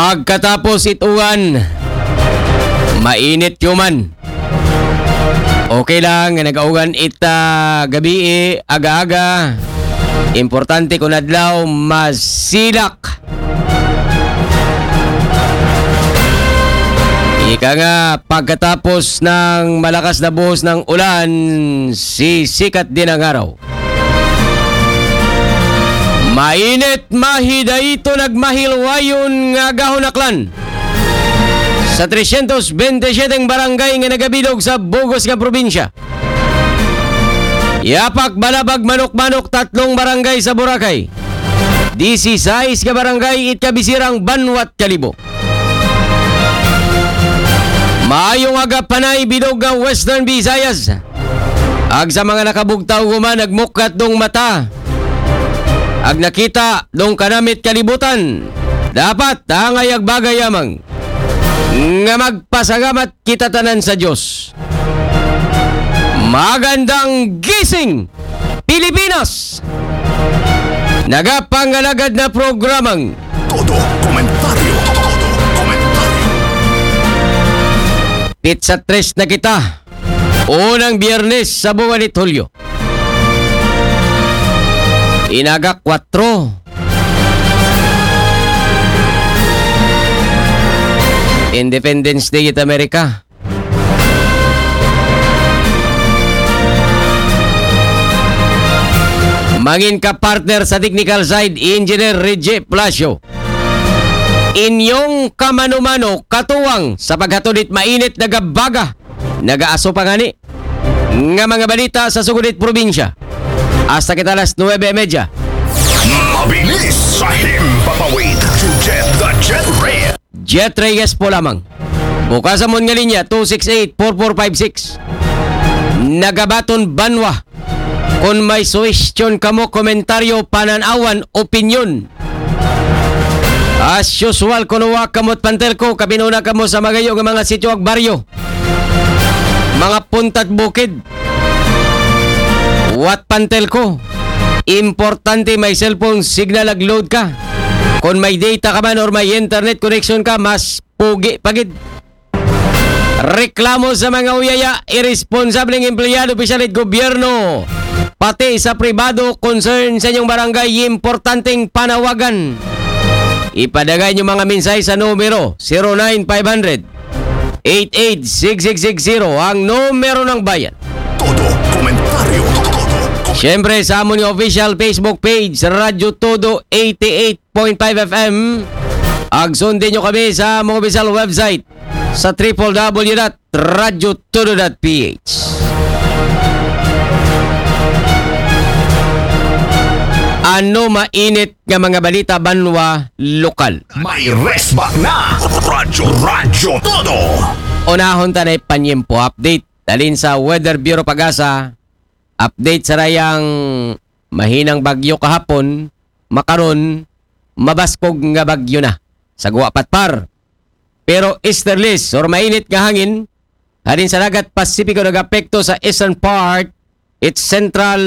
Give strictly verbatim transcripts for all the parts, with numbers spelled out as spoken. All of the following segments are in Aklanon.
Pagkatapos it uwan, mainit human. Okay lang nga nag-augan it, ah, gabii, aga-aga. Importante kon adlaw, masilak. Ika nga, pagkatapos ng malakas na buhos ng ulan, sisikat din ang araw. Mainit, mahidayto, nagmahilwayon nga agahon aklan sa tresyentos bente siyete barangay nga nagabilog sa bug-os nga probinsya. Yapak, Balabag, Manok-Manok, tatlong barangay sa Boracay. Disisais ka barangay it kabisirang banwat Kalibo. Maayong aga, Panay, bilog nga Western Visayas. Ag sa mga nakabugtaw human, nagmuklat dong mata. Ag nakita dong kanamit kalibutan. Dapat angay ag bagay amang nga magpasalamat kita tanan sa Diyos. Magandang gising, Pilipinas! Nagapangalagad na programang Todo Komentaryo. Todo Komentaryo. Pitsa tres na kita. Unang Biyernes sa buwan ni Hulyo. Inaga kwatro. Independence Day it Amerika. Mangin ka partner sa technical side, Engineer Reggie Palacio. Inyong kamano-mano, katuwang sa paghatod it mainit, nagabaga, nagaaso pa ngani nga mga balita sa sugod it probinsya. Hasta kita alas nuebe y media. Mabilis sa himpapawid. Jet the Jet Red. Jet Reyes po lamang. Bukas amon nga linya, two six eight, four four five six. Nagabaton banwa. Kon may suwestyon kamo, komentaryo, panan-awan, opinyon. As usual, kuno wa kamot pantelko, kabinuna kamo sa magayo nga mga sityo ag baryo. Mga puntat bukid. Wat pantelko. Importante may cellphone signal ag load ka. Kon may data ka man or may internet connection ka, mas pugi pa gid. Reklamo sa mga uyaya, iresponsableng empleyado, opisyal it gobyerno, pati sa pribado, concern sa inyong barangay, importanteng panawagan. Ipadagay inyo mga mensahe sa numero zero nine five hundred, eight eight six six six zero, ang numero ng bayan. Todo komentaryo. Todo komentaryo. Siyempre, sa amon nga official Facebook page, Radyo Todo eighty-eight point five F M. Ag sundin nyo kami sa among official website sa triple W dot radyo todo dot P H. Ano mainit nga mga balita banwa lokal? May resbak na Radyo, Radyo Todo. Unahon ta na it panyempo update. Dalin sa Weather Bureau Pag-asa, update sa dayang mahinang bagyo kahapon, makaron, mabaskog nga bagyo na. Sa Guwa Patpar. Pero easterlies or mainit nga hangin, halin sa dagat Pasipiko nagapekto sa eastern part, it central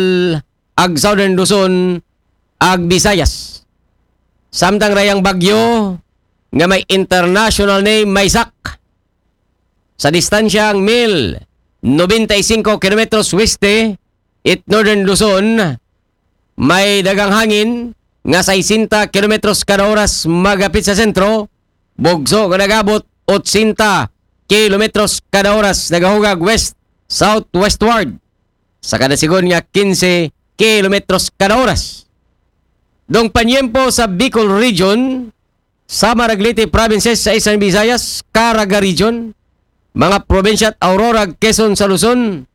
ag southern Luzon, ag Visayas. Samtang dayang bagyo nga may international name, Maysak. Sa distansyang mil nobenta y cinco kilometros weste, it northern Luzon, may dagang hangin nga sesenta kilometros kada oras magapit sa sentro, bugso nga nagabot otsenta kilometros kada oras nagahugag west, southwestward sa kada sigon nga kinse kilometros kada oras. Dong panyempo sa Bicol Region, Samar ag Leyte provinces sa Eastern Visayas, Caraga Region, mga probinsya at Aurora, Quezon sa Luzon,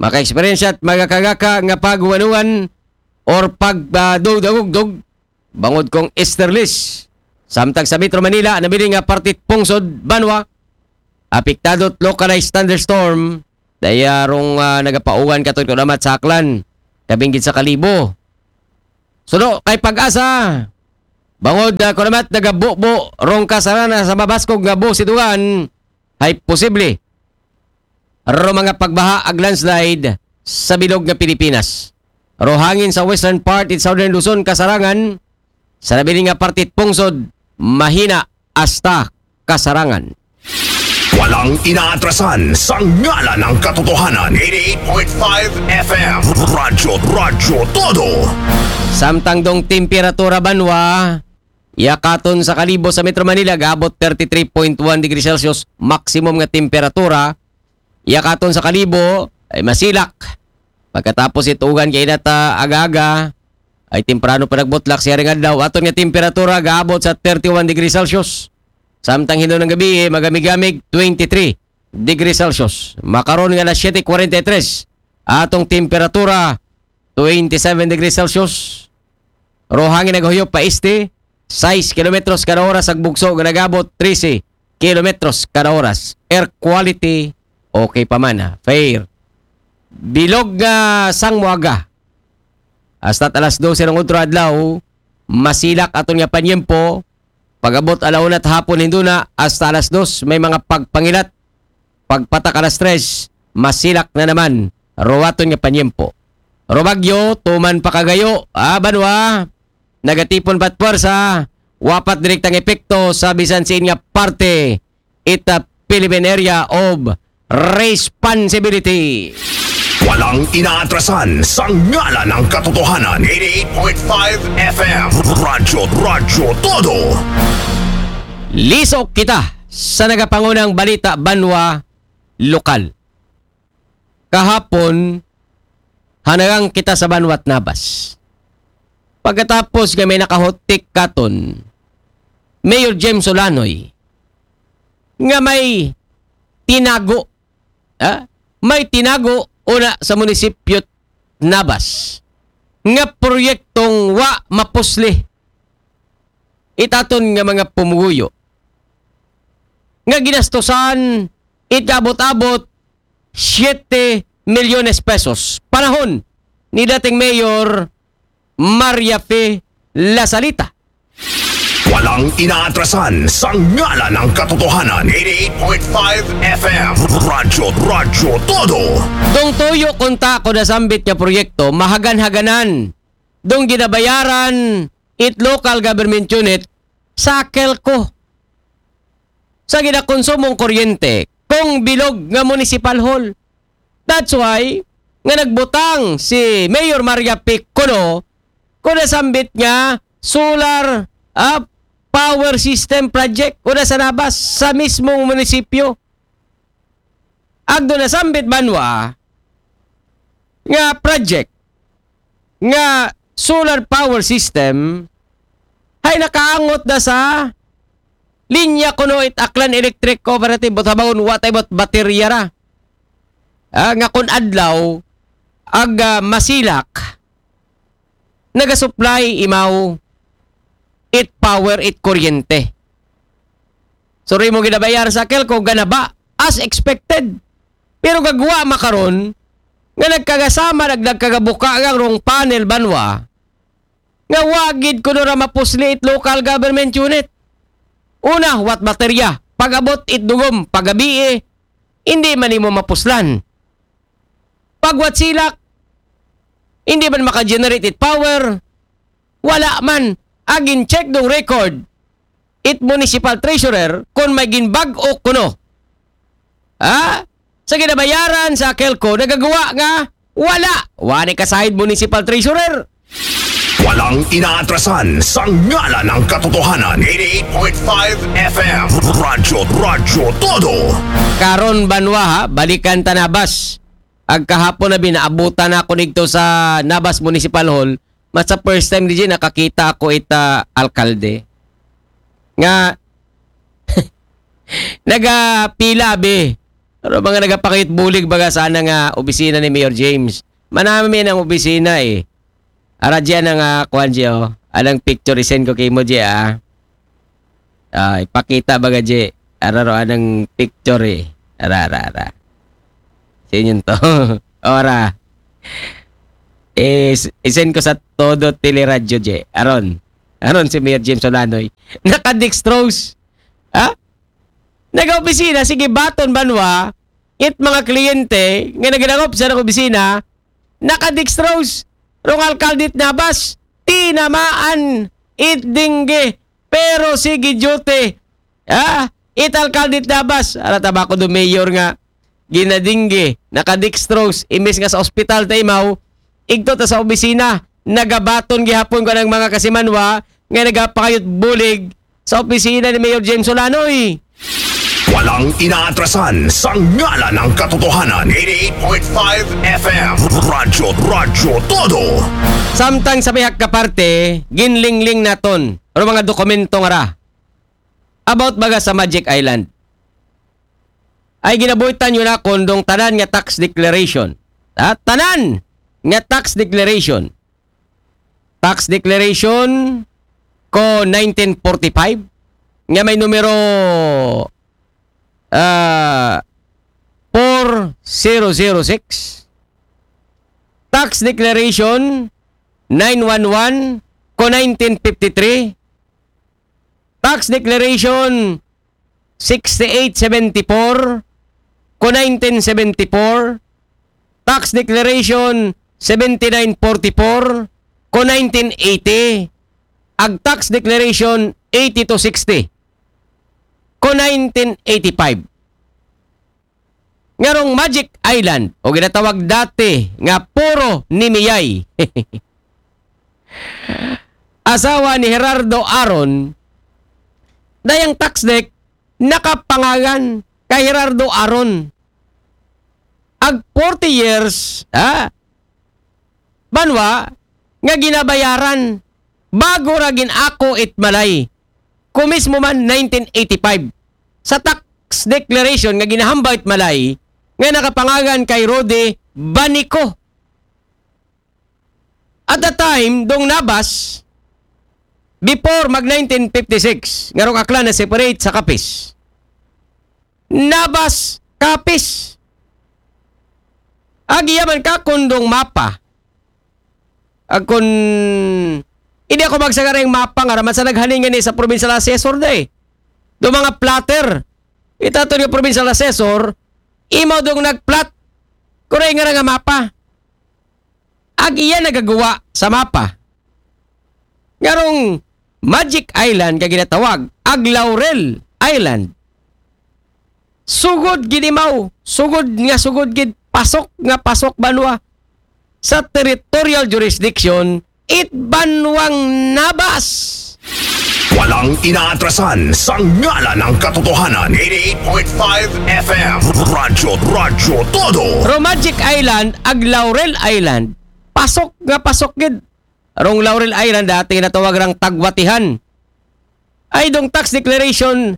maka-eksperyensya at magakagaka nga paguwanuan or pagdugdagugdog bangod kong easterlies. Samtang sa Metro Manila, nabilin nga parte pungsod banwa, apektado localized thunderstorm, daya rong, ah, nagapaugan katud kadamat sa Aklan, kabinggit sa Kalibo. Suno kay Pag-asa, bangod, ah, kunamat nagabubo rong kasarana sa mabaskog nga busidugan, hay posible ro mga pagbaha ag landslide sa bilog nga Pilipinas. Ro hangin sa western part it southern Luzon, kasarangan sa nabilin nga parte it pungsod, mahina hasta kasarangan. Walang inaatrasan sa ngalan ng katotohanan. Eighty-eight point five F M. Radyo, Radyo Todo. Samtang dong temperatura banwa, yakaton sa Kalibo sa Metro Manila, gaabot thirty-three point one degrees Celsius, maximum nga temperatura. Yakaton sa Kalibo, ay masilak. Pagkatapos itugan kay inata aga-aga, ay temprano pa nagbutlak siya ring adlaw. Aton nga temperatura, gaabot sa thirty-one degrees Celsius. Samtang hinuon nga gabii, magamigamig, twenty-three degrees Celsius. Makaron nga alas siyete forty-three, atong temperatura, twenty-seven degrees Celsius. Rohangin nagahuyop pa este, sais kilometros kada oras, ag bugso nga nagabot trese kilometros kada oras. Air quality, okay pa man, ah, fair. Bilog nga sangwaga. Hasta alas dose ng udro adlaw, masilak aton nga panyempo. Pag-abot ala una hapon hinduna hasta alas dos, may mga pagpangilat. Pagpatak alas tres, masilak na naman. Rowaton nga panyempo. Robagyo, tuman pa kagayo, ah, banwa, nagatipon pat pwersa, wapat direktang epekto sa bisan siin nga parte, ita Philippine Area of Responsibility. Walang inaatrasan sa ngalan ng katotohanan. Eighty-eight point five F M. Radyo, Radyo Todo. Lisok kita sa nagapangunang balita banwa lokal. Kahapon, hanagang kita sa banwa't Nabas. Pagkatapos nga may nakahutik katon, Mayor James Olanoy, nga may tinago, ha? May tinago una sa munisipyo Nabas nga proyektong wa mapusli itaton nga mga pumuguyo nga ginastusan it abot-abot siyete milyones pesos panahon ni dating Mayor Maria Fe Lasalita. Walang inaatrasan sa ngalan ng katotohanan. Eighty-eight point five F M. Radyo, Radyo Todo. Dong tuyo kunta ko nasambit nga proyekto, mahagan-haganan. Dong ginabayaran it local government unit sa Kelco. Sa ginakonsumong kuryente, kung bilog nga municipal hall. That's why, nga nagbutang si Mayor Maria P. Cuno, kung nasambit nga solar, ah, power system project, una sa Nabas, sa mismong munisipyo. Agdo nasambit banwa nga project nga solar power system ay nakaangot na sa linya kuno it Aklan Electric Cooperative, but habangon wa tay but baterya ra. Ah, nga kun adlaw ag, ah, masilak, nagasupply imaw it power, it kuryente. So, rin mo ginabayar sa Kelco, ganaba, as expected. Pero gagwa makaron, nga nagkagasama, nag-, nagkagabuka nga rong panel banwa, nga wagid kuno ra mapusli it local government unit. Una, wat baterya. Pag-abot it dugom, pagabii, hindi man imo mapuslan. Pag wat silak, hindi man maka-generate it power, wala man. Agin check dong record, it municipal treasurer, kung may ginbag-o kuno. Ha? Sa ginabayaran sa Kelco, nagagawa nga wala. Wani ka side municipal treasurer. Walang inaatrasan sa ngalan ng katotohanan. Eighty-eight point five F M. Radyo, Radyo Todo. Karon banwa ha, balikan ta Nabas. Ag kahapon na binaabutan ako dito sa Nabas Municipal Hall. Mas sa first time, D J, nakakita ako ita alkalde. Nga, nagapila, be. Pero mga nagapakit bulig baga sana nga opisina ni Mayor James. Manami ang opisina eh. Ara dyan ang, ah, kuwan dyan, oh. Anong picture isend ko kay mo dyan, ah. Ah, ipakita baga dyan. Ara ro anong picture eh. Ara, ara, ara. Sa inyo to. Ora. Is, isend ko sa todo teleradyo dyan. Aron. Aron si Mayor James Olanoy. Naka-dextrose. Ha? Nag-opisina, sige baton banwa. It mga kliyente nga nagalangop sa opisina, naka-dextrose. Rong alkaldit Nabas, tinamaan it dingge. Pero sige duty, Ha? It alkalde it Nabas. Ara, tabako do mayor nga ginadingge, nakadextrose, imbes nga sa ospital ta imaw, igto ta sa opisina, nagabaton gihapon ko ng mga kasimanwa nga nagapangayot bulig sa opisina ni Mayor James Olanoy. Walang inaatrasan sa ngalan ng katotohanan. Eighty-eight point five F M. Radyo, Radyo Todo. Samtang sa pihak ka parte, ginlingling naton ang mga dokumento nga ra about baga sa Magic Island. Ay ginabuhitan yun akon dong tanan nga tax declaration. Ha? Tanan nga tax declaration. Tax declaration ko nineteen forty-five nga may numero ah, four zero zero six. Tax declaration nine one one ko nineteen fifty-three. Tax declaration sixty-eight seventy-four ko nineteen seventy-four. Tax declaration seventy-nine forty-four ko nineteen eighty. Ag tax declaration eighty to sixty ko nineteen eighty-five. Ngarong Magic Island, o ginatawag dati nga Puro ni Miyay. Asawa ni Gerardo Aron, dayang tax dec nakapangalan kay Gerardo Aron. Ag forty years, ha? Banwa nga ginabayaran bago ra gin-ako it malay. Ko mismo man nineteen eighty-five sa tax declaration nga ginahambal it malay nga nakapangalan kay Rudy Banico. At the time, dong Nabas, before mag nineteen fifty-six, ngarong Aklan na separate sa Capiz. Nabas, Capiz. Agi yaman ka kundong mapa. Ag kun hindi ako magsagarang mapa nga raman sa naghaningan ni sa provincial assessor day. Do mga plotter. Itato nga provincial assessor, imaw dong nagplot. Kuray nga nga mapa. Ag iya nagagawa sa mapa. Ngarong Magic Island ka ginatawag, ag Laurel Island. Sugod gid imaw, sugod nga sugod gid, pasok nga pasok banwa sa territorial jurisdiction it banwang Nabas. Walang inaatrasan sa ngalan ng katotohanan. Eighty-eight point five F M. Radyo, Radyo Todo. Ro Magic Island, ag Laurel Island, pasok nga pasok gid. Rong Laurel Island dati natawag rang Tagwatihan. Ay dong tax declaration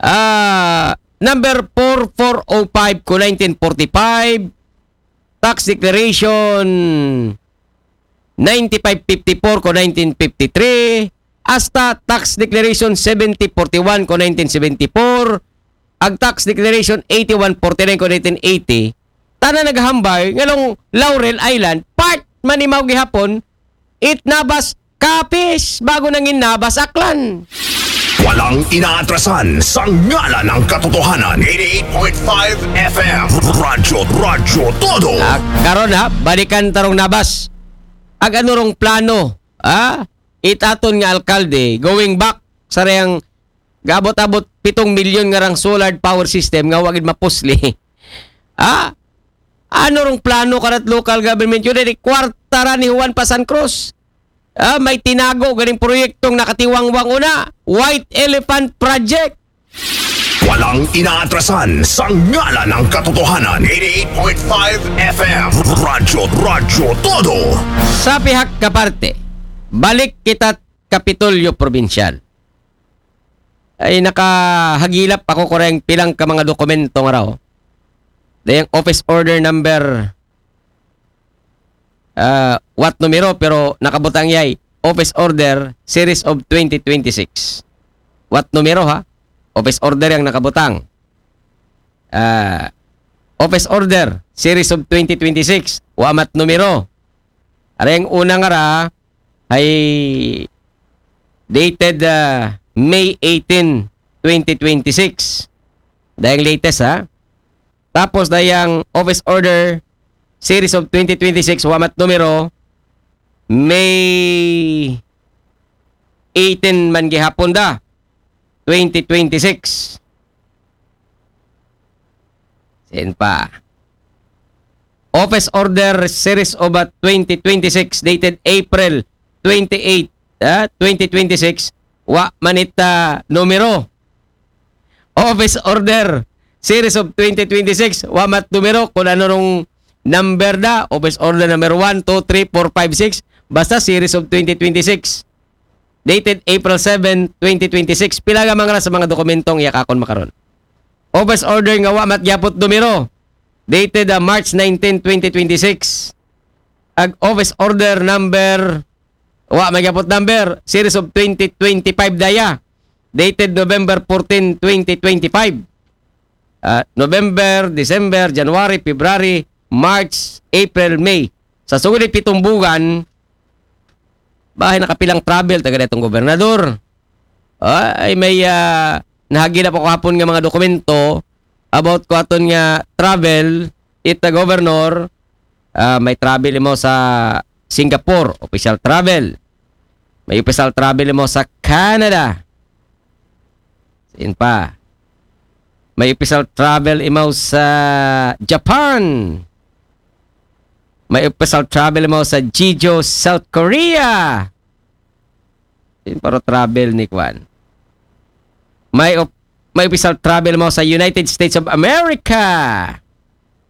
ah number four four oh five ko nineteen forty-five, tax declaration ninety-five fifty-four ko nineteen fifty-three, hasta tax declaration seventy forty-one ko nineteen seventy-four, ag tax declaration eighty-one forty-nine ko nineteen eighty, tanan naghambal nga long Laurel Island, part man imaw gihapon it Nabas Capiz, bago nangin Nabas Aklan. Walang inaatrasan sa ngalan ng katotohanan. Eighty-eight point five F M. Radyo, Radyo Todo. Ah, karon ha, balikan tarong Nabas. Ag ano rong plano, ha? Itaton nga alkalde, going back sa reyang gabot-abot pitong milyon nga rang solar power system nga wagid mapusli. Ha? Ano rong plano karat local government yun? Di kwarta ra ni Juan pa San Cruz. Ah, may tinago ganing proyektong nakatiwangwang una, White Elephant Project. Walang inaatrasan sa ngalan ng katotohanan. Eighty-eight point five F M. Radyo, Radyo Todo. Sa pihak kaparte, balik kita Kapitolyo Probinsyal. Ay nakahagilap ako ko rin pilang ka mga dokumento nga raw. Dayang office order number ah, what numero pero nakabutang yay office order series of twenty twenty-six. What numero ha? Office order yang nakabutang. Ah, office order series of twenty twenty-six. Wamat numero. Areng una nga ra ay dated ah, May eighteen, twenty twenty-six. Dayang latest ha. Tapos dayang office order series of twenty twenty-six, wamat numero, May eighteen man gihapon da. twenty twenty-six. Sin pa. Office Order Series of, ah, twenty twenty-six, dated April twenty-eight, ah, twenty twenty-six, wa man it, ah, numero. Office Order Series of twenty twenty-six, wa man it numero, kung ano rong number na, Office Order number one, two, three, four, five, six, basta Series of twenty twenty-six. Dated April seven, twenty twenty-six. Pila nga mga sa mga dokumentong iya ka akon makaron. Office Order nga wa man it gyapon it numero. Dated, ah, March nineteen, twenty twenty-six. Ag Office Order number, wa man it gyapon it number, Series of twenty twenty-five daya. Dated November fourteen, twenty twenty-five. Ah, November, December, January, February, March, April, May. Sa sugod ni pitong buwan, bahin nakapilang travel taga datong gobernador. Ah, ay may, ah, nahagi na pa ko hapon nga mga dokumento about ko aton nga travel, it the governor, ah, may travel imaw sa Singapore, official travel. May official travel imaw sa Canada. Sin pa. May official travel imaw sa Japan. May official travel imaw sa Jeju, South Korea. Sin pa ro travel ni kwan. May op-, may official travel imaw sa United States of America.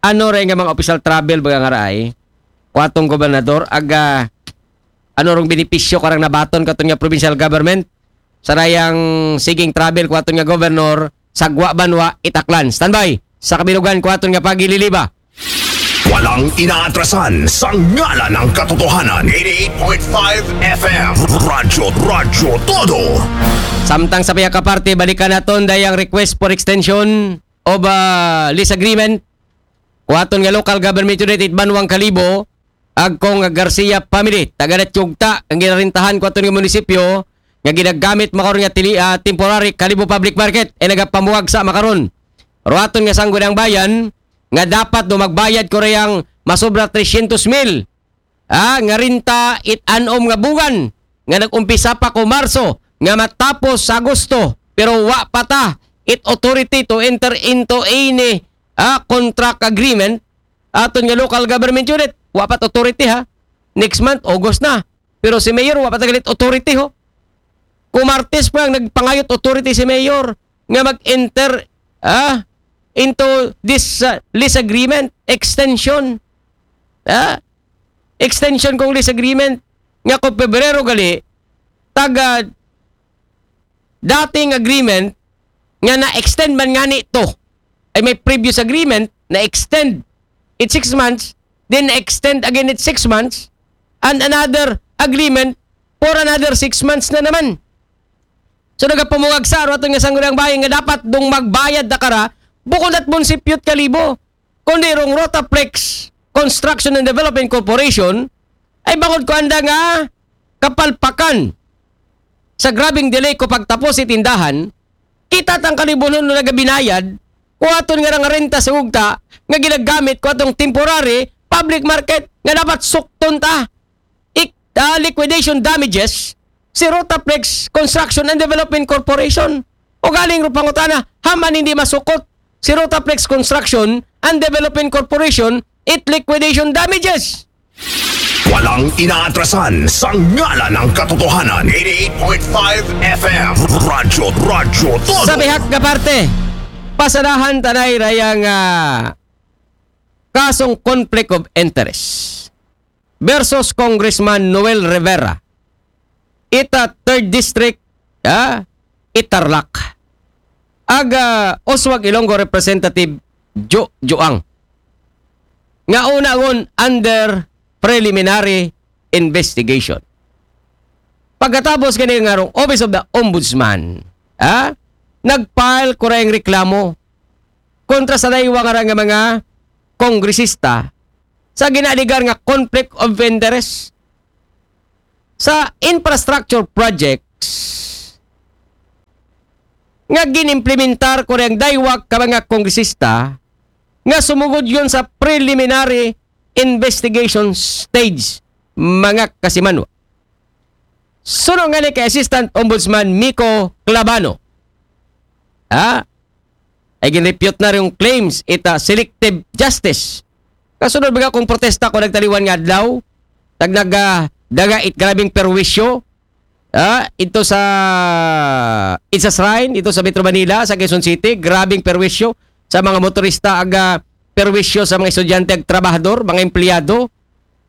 Ano rin nga mga official travel baga nga raay? Kuwatong gobernador, aga, ano rong benepisyo karang nabaton katon nga provincial government? Sa rayang siging travel kuwaton nga governor, sagwa banwa, itaklan. Standby! Sa kabilugan kuwaton nga pagililiba. Walang inaatrasan sa ngalan ng katotohanan. eighty-eight point five F M. Radyo, Radyo Todo. Samtang sa pihak ka parte, balikan naton dayang request for extension of, ah, lease agreement. Kuwaton nga local government unit it Banwang Kalibo, ag kong Garcia family, taga Datyugta, ang ginarintahan kuwaton nga munisipyo, nga ginagamit makaron nga tili, ah, temporary Kalibo Public Market, ay nagapamuwag sa makaron. Ruwaton nga sangguniang bayan, nga dapat do magbayad ko rayang masobra tresyentos mil, ah, nga renta it anom nga buwan, nga nag-umpisa pa ko Marso, nga matapos sa Agosto, pero wa pa ta it authority to enter into any, ah, contract agreement, aton nga local government unit, wa pa it authority ha. Next month, August na. Pero si Mayor, wa pa ta galit authority ho. Kumartes pa ang nagpangayot authority si Mayor nga mag-enter, ah, into this, ah, lease agreement, extension. Ah, extension kong lease agreement nga kung Pebrero gali, taga dating agreement nga na-extend man ngani to. Ay may previous agreement, na-extend it six months, then na-extend again it six months, and another agreement for another six months na naman. So nagapamuwag sa ruwaton nga sangguniang bayan nga dapat dong magbayad na kara, bukod at munisipyo it Kalibo, kundi rong Rotaflex Construction and Development Corporation, ay bangod ko anda nga kapalpakan sa grabing delay ko pagtapos it tindahan, kita tang Kalibo no nagabinayad, kuwaton nga rang renta sa ugta, nga ginagamit kuwatong temporary public market, nga dapat sukton ta. Ik-, ah, liquidation damages, si Rotaflex Construction and Development Corporation. O galing ro pangutana, haman hindi masukot si Rotaflex Construction and Development Corporation it liquidation damages. Walang inaatrasan sa ngalan ng katotohanan. eighty-eight point five F M. Radyo, Radyo Todo. Sa pihak nga parte, pasadahan ta na rayang, ah, kasong conflict of interest versus Congressman Noel Rivera. Ita third District, ah, Tarlac. Aga Oswag Ilonggo Representative Jo Joang. Nga una ngon under preliminary investigation. Pagkatapos gani nga rong Office of the Ombudsman, ah, nag-file ko rayang reklamo kontra sa daywa nga ra nga mga kongresista sa ginaaligar nga conflict of interest sa infrastructure projects nga ginimplementar ko rayang daywa ka mga kongresista nga sumugod yon sa preliminary investigation stage, mga kasimanwa. Suno ngani kay Assistant Ombudsman Miko Clavano, Ha? Ay gin-refute na rong claims ita selective justice. Kasunod mga kung protesta ko nagtaliwan nga adlaw, tag nagdaga it grabing perwisyo, ah, ito sa, it's a shrine, ito sa Metro Manila, sa Quezon City, grabing perwisyo sa mga motorista, aga perwisyo sa mga estudyante, ag trabahador, mga empleyado,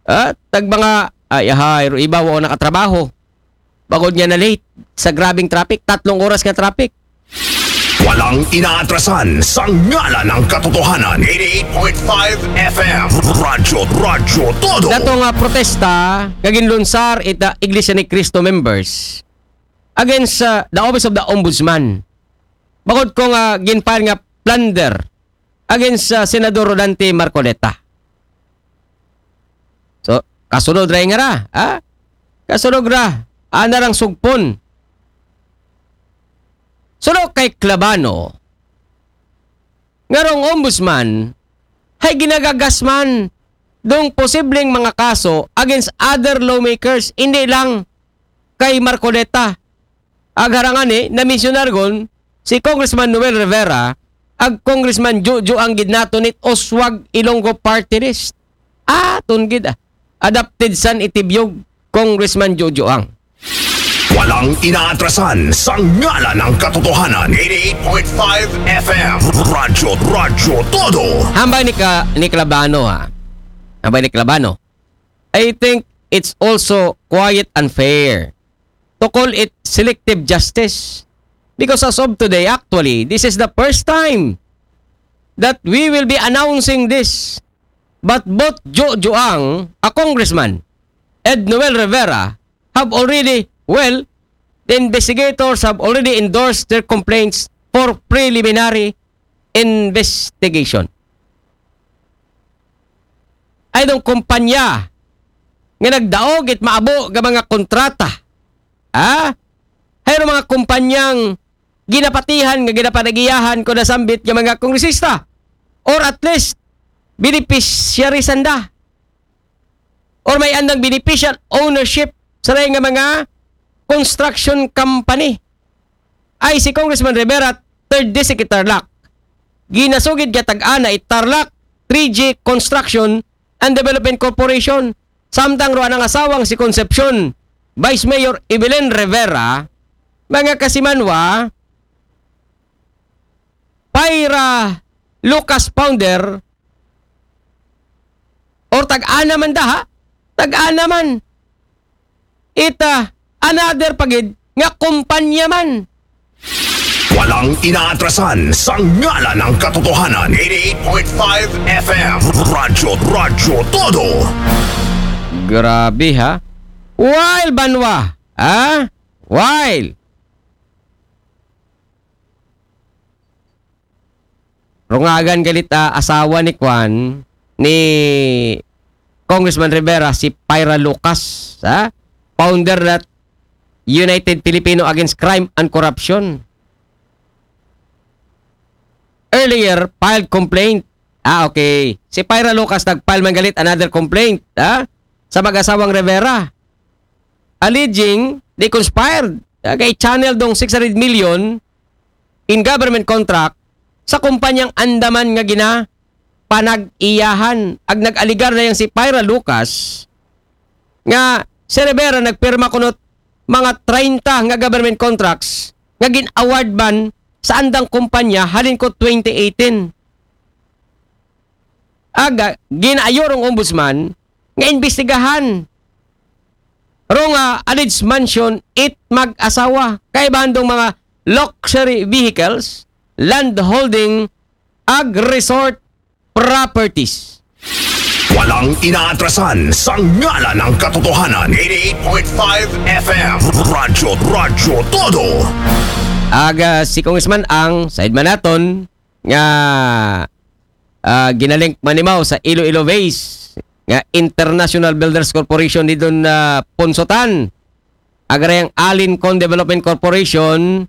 ah, tag mga, ay, ahay, ro iba, wa nakatrabaho. Bagod nga na late sa grabing traffic, tatlong oras nga traffic. Walang inaatrasan sa ngalan ng katotohanan. eighty-eight point five F M. Radyo, Radyo Todo. Dato nga protesta, nga ginlunsar ita Iglesia ni Cristo members against uh, the Office of the Ombudsman. Bagod ko nga ginfile nga plunder against uh, Senador Rodante Marcoleta. So, kasunod ra nga ra, ha? Kasunod ra, ana rang sugpon. Suno kay Clabano, nga rong ombudsman, hay ginagagas man dong posibleng mga kaso against other lawmakers, hindi lang kay Marcoleta. Agharangani, na-mensionar gon si Congressman Noel Rivera, ag Congressman Jojo ang gidnato nit Oswag Ilonggo Party List. Ah, tungid ah. Adapted san itibiyog Congressman Jojo ang. Walang inaatrasan sa ngalan ng katotohanan. eighty-eight point five F M. Radyo, Radyo Todo. Hambay ni, ka, ni Clabano ha. Hambay ni Clabano. I think it's also quite unfair to call it selective justice. Because as of today, actually, this is the first time that we will be announcing this. But both Jojo ang, a congressman, and Noel Rivera have already, well, the investigators have already endorsed their complaints for preliminary investigation. Ay dong kumpanya nga nagdaog it maabo nga mga kontrata. Ha? Hay mga kumpanyang ginapatihan nga ginapanagiyahan ko nasambit nga mga kongresista, or at least beneficiary sanda, or may andang beneficial ownership sa nga mga construction company. Ay si Congressman Rivera, third district it Tarlac. Ginasugid nga tag-ana it Tarlac three G Construction and Development Corporation, samtang ro anang asawang si Concepcion, Vice Mayor Evelyn Rivera, mga kasimanwa, Pyra Lucas founder, or tag-ana man daha, tag-ana man. Ita, another pagid nga kumpanya man. Walang inaatrasan sa ngalan ng katotohanan. eighty-eight point five F M. Radyo, Radyo Todo. Grabe ha. Wild banwa. Ha? Wild. Rungagan galit uh, asawa ni Kwan, ni Congressman Rivera, si Pyra Lucas, ha? Founder that United Filipino Against Crime and Corruption. Earlier, filed complaint. Ah, okay. Si Pyra Lucas nag-file man galit another complaint, ha? Sa mag-asawang Rivera. Alleging they conspired. Kay channel dong six hundred million in government contract sa kumpanyang andaman nga gina panag-iyahan. Ag nag-aligar na yang si Pyra Lucas nga si Rivera nagpirma kunot mga treinta nga government contracts nga gin-award man sa andang kumpanya halin ko twenty eighteen. Aga, ginayo rong ombudsman nga imbestigahan rong uh, alleged mansion it mag-asawa kay bandong mga luxury vehicles, land holding, ag resort properties. Walang inaatrasan sa ngalan ng katotohanan. eighty-eight point five F M. Radyo, Radyo Todo. Aga si Congressman ang side man naton nga uh, ginalink manimaw sa Iloilo Base nga International Builders Corporation ni Don uh, Ponsotan. Agarayang Alincon Development Corporation